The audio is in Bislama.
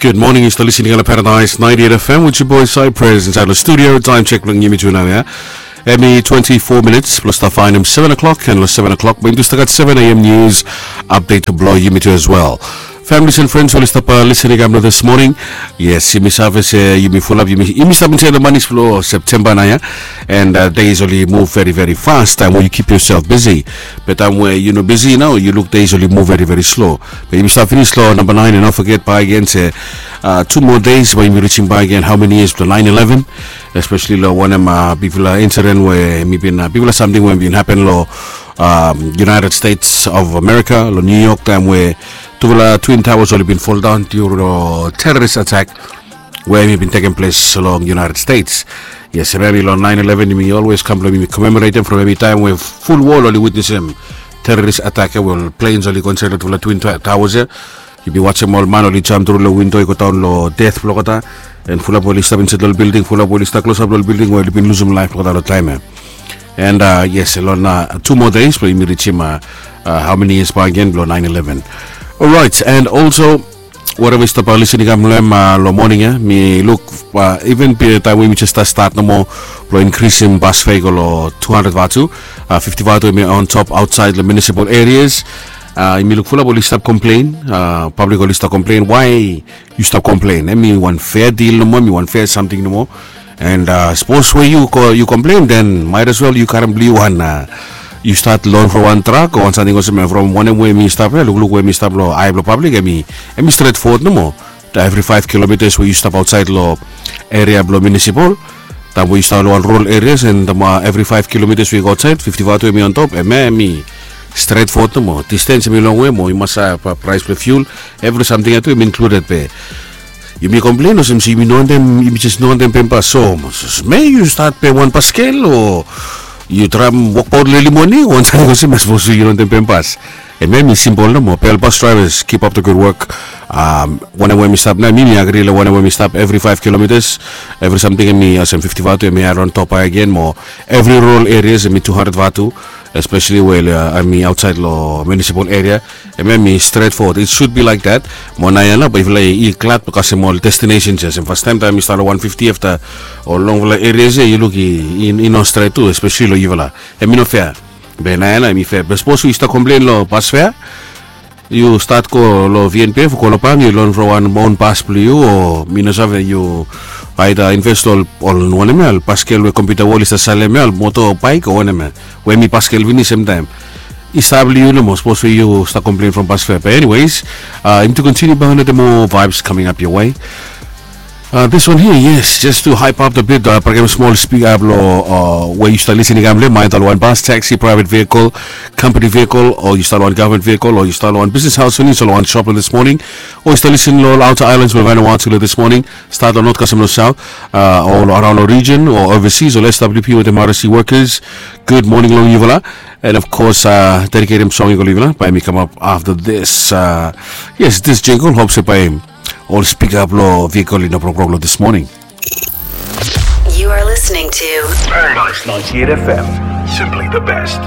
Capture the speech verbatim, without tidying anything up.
Good morning, yu stap listening long Paradise ninety-eight F M with your boy Cypress inside the studio. Time check blong yumi tu nau ya. Hemi twenty-four minutes plus the fine seven o'clock and seven o'clock. But you start seven a.m. news update to blow yumi tu as well. Families and friends, oli stap listening up this morning. Yes, yumi save se yumi fulap, yumi yumi stap inside the months blo September nau ya. And uh, days oli move very very fast. Time where you keep yourself busy. But time where you know busy now, you look days oli move very very slow. But yumi stap finish lo number nine and don't forget by again se uh, two more days when we reaching by again. How many years to nine eleven? Especially lo wanem uh, bigfala incident where mi bin uh, bigfala something where bin happen lo um, United States of America, lo New York time where tufala Twin Towers oli bin fall down due to terrorist attack where mi bin taking place along United States. Yes, hemi lo nine eleven mi always kam lo mi commemorate from hemi time where full world oli witness him terrorist attack where planes oli consider tufala Twin Towers. Yu bin wasim ol man oli jam tru lo windo i go daon lo death blong olgeta. And fulap oli stap insait lo ol bilding, fulap oli stap klosap lo ol bilding we oli bin lusim laif blong olgeta lo taim ya. And uh, yes, lo na two more days blong yumi reachim uh, uh, how many years back again blong nine eleven. Alright, and also whatever stap uh, listening am lo em uh, lo morning ya, mi luk uh, even taim we mi just start nomo blong increasing bus fare i go lo two hundred vatu, uh, fifty vatu mi on top outside lo municipal areas. Uh, mi luk fulap oli stap complain, uh, public oli stap complain, why you stap complain? Hemi wan fair deal nomo, hemi wan fair something nomo. And uh, suppose we you co- you complain, then might as well you karim blong yu wan uh, you start loan for one truck o wan something olsem from wanem we mi stap ya, lukluk we mi stap lo ai blong public, hemi hemi straight forward nomo. Every five kilometers we you stap outside lo area blong municipal, taim we you stap lo wan rural areas and um, uh, every five kilometers we go outside fifty vatu hemi on top, hemi hemi straight forward nomo. Distance hemi long we mo you must have uh, price blong fuel, every something ya tu hemi included be. Yumi complain olsem se yumi no wantem, yumi just no wantem pem bas. So me you start pe wan paskel o you traim wokbaot leli moni o wan samting olsem, mas bos yu no wantem pem bas. Hemi hemi simple nomo. Pe ol bus drivers, keep up the good work. Um, wanem we mi stap nao, mi mi agri lo wanem we mi stap, every five kilometers, every something hemi olsem fifty vatu hemi add on top again mo. Every rural areas hemi two hundred vatu, especially we uh, hemi outside lo municipal area. Hemi hemi straight forward, it should be like that. Mo nao ya nao, but if like i glad because hemi ol destinations ya, olsem first time taim mi stap lo one fifty after ol longfala areas ya, yu luk i i no straight tu, especially lo yufala. Hemi no fair. Be nao ya nao hemi fair. Be suppose we stap complain lo bus fare, yu start go lo V N P F, go lo bank, yu loan from wan own bus blong yu o mi no save, yu aida invest ol ol wanem ya, ol paskel we computer wall i stap salem ya, ol moto, bike o wanem ya, we hemi paskel finis semtaim. I stap blong yu nomo, suppose we yu stap complain from bus fare. But anyways, uh, yumi tu continue bang another more vibes coming up your way. Uh, this one here, yes, just to hype up the bit, uh, program small speak up lo uh, where you start listening am le mind ol wan bus, taxi, private vehicle, company vehicle, or you start wan government vehicle, or you start wan business house, or you start wan shop this morning, or you start listening lo outer islands, lo Vanuatu lo this morning, start lo north custom lo south, uh, or around the region or overseas, or S W P with the M R C workers. Good morning long yufala. And of course, uh, dedicate him song i go lo yufala by me come up after this. Uh, yes, this jingle hopes by him. Ol spika blong vehicle i no brokbrok lo this morning. You are listening to Paradise ninety-eight F M, simply the best.